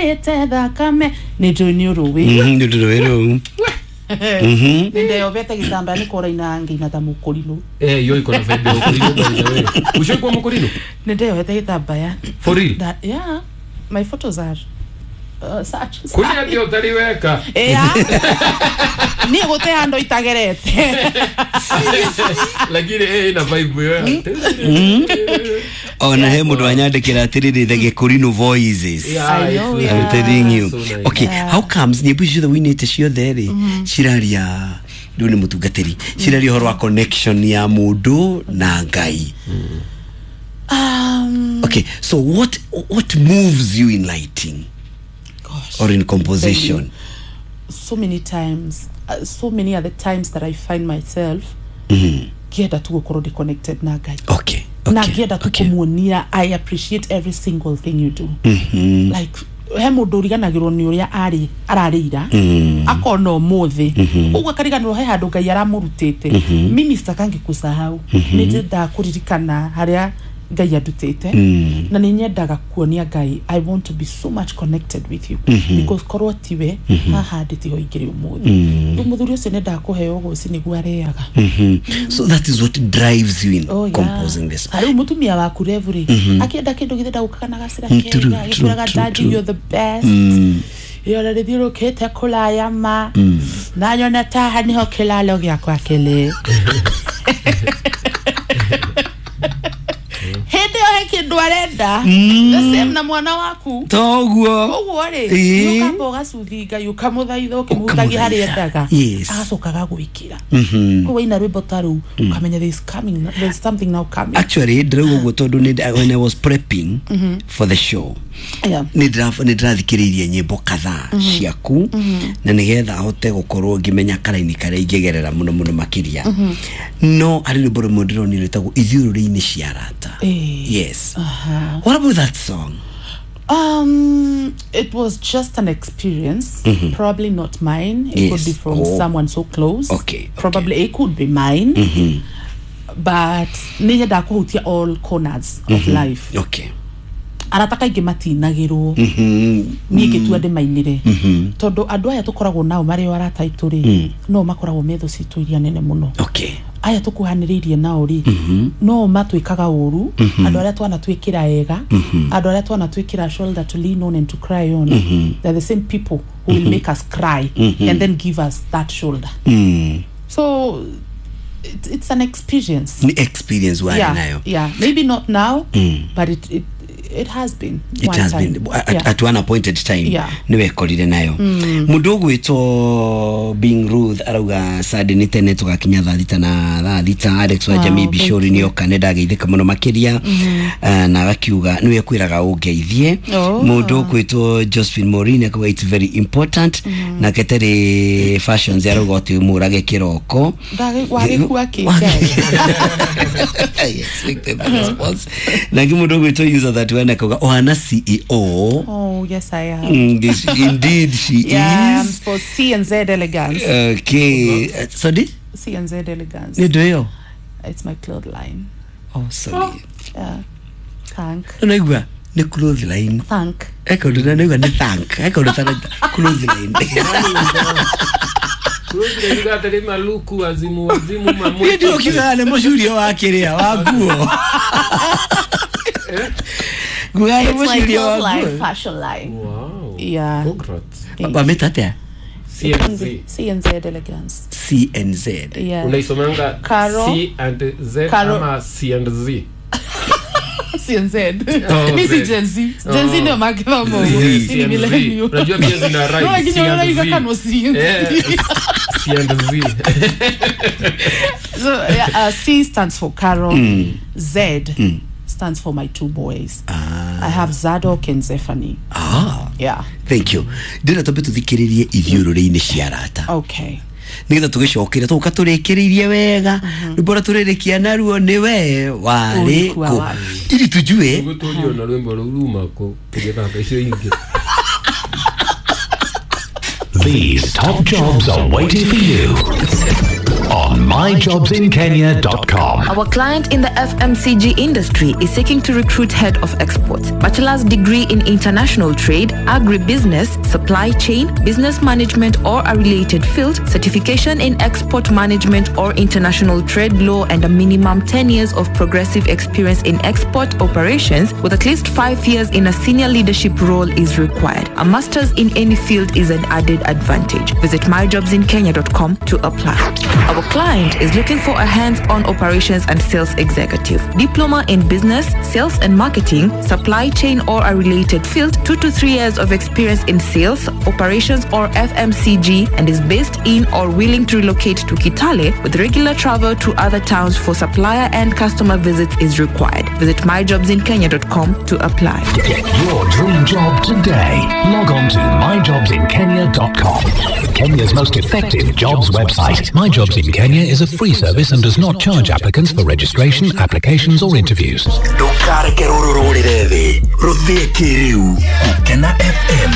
Wĩitĩte thakame nĩ njũĩ nĩ ũrũĩ. Nĩ rũĩ rũu. Nĩ ndeyobete gĩtambaya nĩ koraina ngĩina ta mũkũrinũ. Hiyo iko na vibe ya Mkorino by the way. Ushaikuwa Mkorino? Nĩ ndeyohete gĩtambaya. For real? That, yeah, my photos are such. Kuria ndio utaliweka. Yeah. Niĩ gũte handũ itagerete. Lakini ina vibe wewe. Ona he mũndũ anyandĩkĩra atĩrĩrĩ, the Gĩkũrinũ voices. Yeah, I know, it's yeah. I'm telling you. So nice. Okay, how comes nyĩmbo icio ciothe wĩinĩte ciothe rĩ ciraria rĩu nĩ mũtungatĩri ciraria ũhoro wa connection ya mũndũ na Ngai. Okay, so what moves you in lighting? Gosh. Or in composition? So many times, so many other times that I find myself ngĩenda tu gũkorwo ndĩ connected na Ngai. Okay. Na ngĩenda tu kũmuonia I appreciate every single thing you do. Like he mũndũ ũriganagĩrwo nĩ ũrĩa arĩ ararĩira akona ũmũthĩ ũguo akariganĩrwo he handũ Ngai aramũrutĩte. Mimi sitakangi kusahau, nĩ nyendaga kũririkana harĩa Ngai andutĩte na nĩ nyendaga kuonia Ngai I want to be so much connected with you because korwo tiwe haha ndĩ tiho ingĩrĩ ũmũthĩ. Rĩu mũthuri ũcio nĩendaga kũheo gũci nĩguo arĩaga. So that is what drives you in Oh, yeah. composing this. Rĩu mũtumia waku revu rĩ akĩenda kĩndũ githĩ ndagũkaga na gacĩra True, kega gĩkwĩraga true, daddy true. you're the best. Ĩyo rĩthiũrũkĩte kũraya ma na nyone taha nĩho kĩlalo gĩakwa kĩrĩ. Hĩndĩ ĩyo he kĩndũ arenda the same na mwana waku Toguo. ũguo rĩ Ĩĩ. ũkamba ũgacuthi Ngai ũkamũthaitha ũkĩmũhutagia harĩa endaga Yes. agacoka agagwĩkĩra. Koguo waina rwĩmbo ta rũu ũkamenya there is coming, there is something now coming. Actually ndĩrauga ũguo tondũ when I was prepping for the show Yeah. nĩ ndĩrathikĩrĩirie nyĩmbo kadhaa ciaku na nĩgetha hote gũkorwo ngĩmenya karaini karĩa ingĩgerera mũno mũno makĩria. No harĩ rwĩmbo rũmwe ndĩronire rwĩtagwo ithiũrũrĩ-inĩ cia arata. Yes. What about that song? It was just an experience. Probably not mine. It could be from someone so close. Okay. Probably it could be mine. But nĩ nyendaga kũhutia all corners of life. Okay. Arata kaingĩ matinagĩrwo niĩ ngĩtua ndĩmainĩre tondũ andũ aya tũkoragwo nao marĩ o arata aitũ rĩ no makoragwo me thũ citũ iria nene mũno. Okay. Aya tũkuhanĩrĩirie nao rĩ no matwĩkaga ũru andũ arĩa twanatwĩkĩra ega andũ arĩa twanatwĩkĩra shoulder to lean on and to cry on, they're the same people who will make us cry and then give us that shoulder. So it's an experience. Ni experience warĩ nayo. Yeah, maybe not now, but it has been. It has been at one appointed time. Nĩ wekorire nayo. Mũndũ ũgwĩtwo Being Ruth arauga Sunday nĩ tene tũgakinya thaa thita na thaa thita. Alex wa Jamii Bishori nĩ oka nĩ ndageithĩka mũno makĩria na agakiuga nĩwe kwĩraga ũngeithie. Mũndũ ũgwĩtwo Josephine Maureen akauga it's very important. Nake Terry Fashions arauga ũtĩ mũrage kĩroko. Wagĩkua kĩ Ngai? I expected the response. Nake mũndũ ũgwĩtwo user that one akauga ohana CEO. Oh, yes, I am. Indeed she is. For C&Z Elegance. Okay. Sorry? C&Z Elegance. Nĩ ndũ ĩyo? It's my cloth line. Oh, sorry. Yeah. Thank. Unaigua nĩ cloth line. Thank. Ekaũndũ na naigua nĩ thank. Ekaũndũ ta cloth line. Cloth maluku azimu wazimu mamwe. Nĩ ndio kiugaga nĩ mũcurio wa kĩrĩa wa nguo. It's my cloth line, fashion line. Wow. Yeah. Congrats. Wameta atia? C&Z. C&Z Elegance. C&Z. Yeah. Unaisomanga Caro. C and Z Caro. ama C and Z? C&Z. Oh, Mi si Z. Gen Z. Gen Z ndio makithomo. C Ni and Z. millennial. Unajua pia zina rhyme. No, lakini C and unaona Z. kama C and Z. C and Z. So yeah, C stands for Carol. Z stands for my two boys. I have Zadok and Zephany. Yeah. Thank you. Ndĩrenda twambe tũthikĩrĩrie ithiũrũrĩ-inĩ cia arata. Okay. Nĩgetha tũgĩcokere tũka tũrĩkĩrĩirie wega rwĩmbo rũrĩa tũrĩrĩkia naruo nĩ we warĩ Ulikuwa kũ wapi? ili tujue Nĩguo tũrio na rwĩmbo rũu ruma kũ tũgĩthaka icio ingĩ. These top jobs are waiting for you. on myjobsinkenya.com. Our client in the FMCG industry is seeking to recruit head of exports, bachelor's degree in international trade, agribusiness, supply chain, business management or a related field, certification in export management or international trade law, and a minimum 10 years of progressive experience in export operations with at least 5 years in a senior leadership role is required. A master's in any field is an added advantage. Visit myjobsinkenya.com to apply. Our client is looking for a hands-on operations and sales executive, diploma in business, sales and marketing, supply chain or a related field, 2 to 3 years of experience in sales, operations or FMCG, and is based in or willing to relocate to Kitale with regular travel to other towns for supplier and customer visits is required. Visit myjobsinkenya.com to apply. Get your dream job today. Log on to myjobsinkenya.com. Kenya's most effective jobs website. My Jobs in Kenya is a free service and does not charge applicants for registration, applications, or interviews. Ndũkareke rũrũ rũrĩre thĩ, rũthĩe kĩrĩu. Gũkena FM.